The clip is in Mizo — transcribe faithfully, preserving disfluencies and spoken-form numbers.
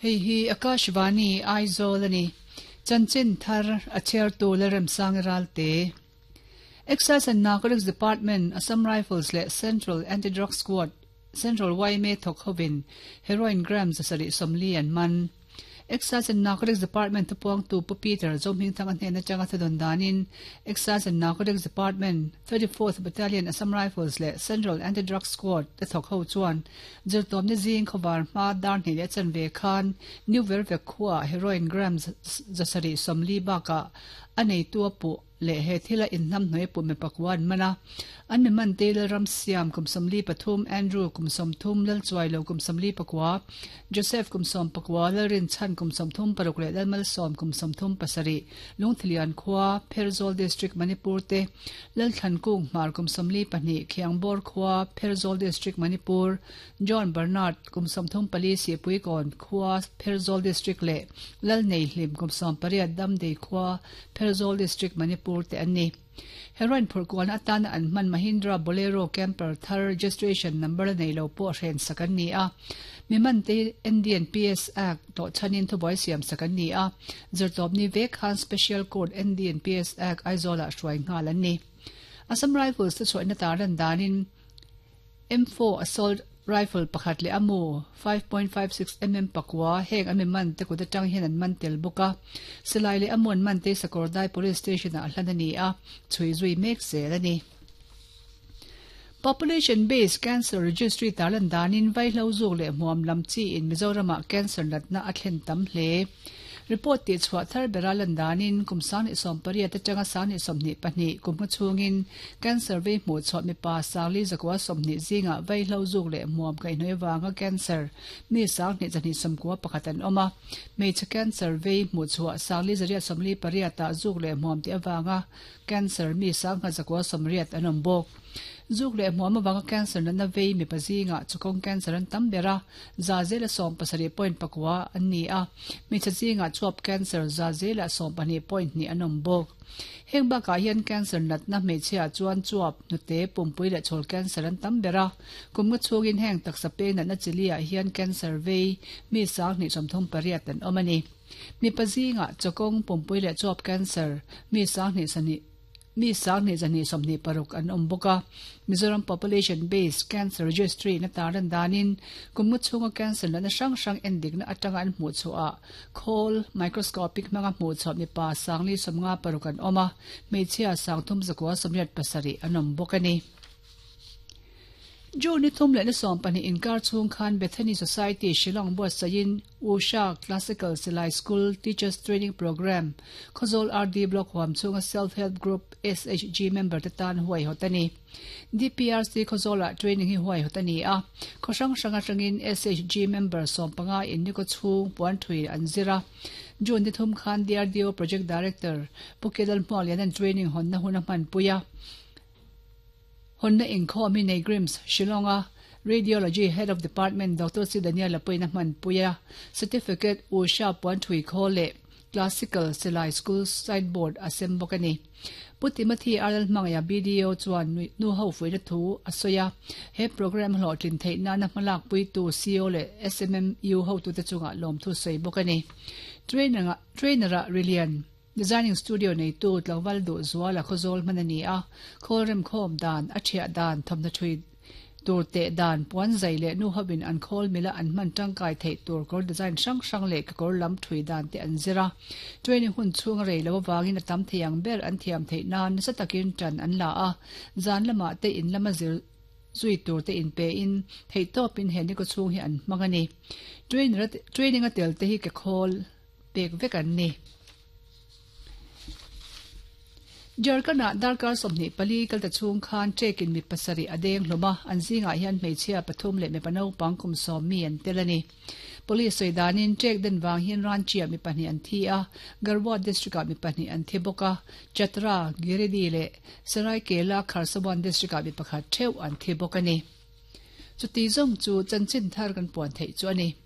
Hei hi Akashvani Aizawl ani. Chanchin thar a chhiartu Lalremsang Ralte. Excise and Narcotics Department, Assam Rifles leh Central Anti-Drug Squad, Central yma thawk hovin heroin gram zasarih sawmli an man. Excise and Narcotics Department thupuangtu Pu Peter Zohmingthanga hnen atanga thudawn danin Excise and Narcotics Department, thirty-fourth Battalion Assam Rifles leh Central Anti-Drug Squad te thawk ho chuan zirtawmni zing khawvar hma dar hnih leh chanve khan New Vervek khuaah heroin gram zasarih sawmli bakah a neitu a puh leh he thila inhnamhnuai puh mi pakua an man a. An mi man te Lalram Siam kum sawmli pathum, Andrew kum sawmthum, Lalchuailo kum sawmli pakua, Joseph kum sawm pakua, Lalrinchhan kum sawmthum paruk leh Lalmalsawm kum sawmthum pasarih, Lungthilian khua, Pherzawl District, Manipur te, Lalthlankung Hmar kum sawmli pahnih, Khiangbawr khua, Pherzawl District, Manipur, John Bernard kum sawmthum pali, Sihpuikawn khua, Pherzawl District leh Lalneihlim kum sawm pariat, Damdei khua, Pherzawl District, Manipur te an ni. Heroin phurhkualna atana an hman Mahindra Bolero Camper thar registration number la nei lo pawh hren sak an ni a. Mi man te N D and P S Act tawh chhanin thubuai siam sak an ni a. Zirtawpni vek khan Special Court N D and P S Act Aizawlah hruai nghal an ni. Assam Rifles te chhuahna tar lan danin M four Assault Rifle pakhat leh a mu five point five six mm pakua heng an mi man te kut atang hian an man tel bawk a. Silai leh a mu an man te Sakawrdai Police Station ah hlan a ni a, chhui zui mek zel a ni. Population Based Cancer Registry tar lan danin vaihlo zuk leh hmuam lam chi in Mizoramah cancer natna a thlen tam hle. Report tih chhuah thar bera lan danin kum sang hnih sawm pariat atanga sang hnih sawmhnih pahnih kum hma chhungin cancer vei hmuh chhuah mipa sangli zakua sawmhnih zingah vaihlo zuk leh hmuam kaihhnawih avanga cancer mi sang hnih zahnih sawmkua pakhat an awm a. Hmeichhe cancer vei hmuh chhuah sangli zariat sawmli pariatah zuk leh hmuam tih avanga cancer mi sang nghat zakua sawmriat an awm bawk. Zuk leh hmuam avanga cancer natna vei mipa zingah chukawng cancer an tam ber a, za zela sawm pasarih point pakua an ni a. Hmeichhe zingah chuap cancer za zela sawm pahnih point hnih an awm bawk. Heng bakah hian cancer natna hmeichhiah chuan chuap hnute pumpui leh chhawl cancer an tam ber a. Kum nga chhungin heng taksa peng natna chiliah hian cancer vei mi sang hnih sawmthum pariat an awm a ni. Mipa zingah chukawng pumpui leh chuap cancer mi sang hnih sahnih mi sang hnih zahnih sawmhnih paruk an awm bawk a. Mizoram Population Based Cancer Registry na tar lan danin kum nga chhunga cancer natna hrang hrang endikna atanga an hmuh chhuah khawl microscopic hmanga hmuh chhuah mipa sangli sawmnga paruk an awm a, hmeichhia sangthum zakua sawmriat pasarih an awm bawk a ni. June ni thum leh ni sawm pahnih inkar chhung khan Bethany Society Shillong buatsahin Usha Classical Silai School Teachers Training Programme Khawzawl R D Block huam chhunga Self Help Group S H G member te tan huai hawt a ni. D P R C Khawzawlah training hi huai hawt a ni a. Khaw hrang hrang atangin S H G member sawm panga in ni kaw chhung puan thui an zir a. June ni thum khan D R D O Project Director Pu Kelal Hmuak lian an training hawnna hun a hmanpui a. Honna inkhawm hi Negrims, Shillonga Radiology Head of Department Doctor C Daniel apuina hmanpui a. Certificate Usha puan thui khawl leh Classical Silai School signboard a sem bawk a ni. Pu Timothy R L Hmangaiah B D O chuan nu ho fuihna thu a sawi a. He program hlawhtlin theih nana hmalak puitu C O leh S M M U hotute chungah lawm thu sawi bawk a ni. Trainer trainer-ah Rilian Designing Studio nei tu tlangval duh zuala khawzawl hman a ni a. Khawl rem khawm dan, a thiah dan, thawmhnaw thui tur teh dan, puan zai leh nu hovin an khawl mila an hman tangkai theih tur kawr design hrang hrang leh kekawr lam thui dan te an zir a. Training hun chhung a rei lo avangin a tam thei ang ber an thiam theih nan nasa takin tan an la a. Zan lamah te in lama zir zui tur te in pe in theih tawpin he ni kaw chhung hi an hmang a ni. Trainer training a tel te hi ke khawl pek vek an ni. Jharkhand-ah darkar sawmhnih pali kalta chhung khan trekin mi pasarih a deng hlawm a, an zingah hian hmeichhia pathum leh mipa naupang kum sawm mi an tel a ni. Police sawi danin trek den vang hian Ranchi-ah mi pahnih an thi a, Garhwa district-ah mi pahnih an thi bawk a, Chatra, Giridih leh Seraikela Kharsawan district-ah mi pakhat theuh an thi bawk a ni. Chuti zawng chu chanchin thar kan puan theih chu a ni.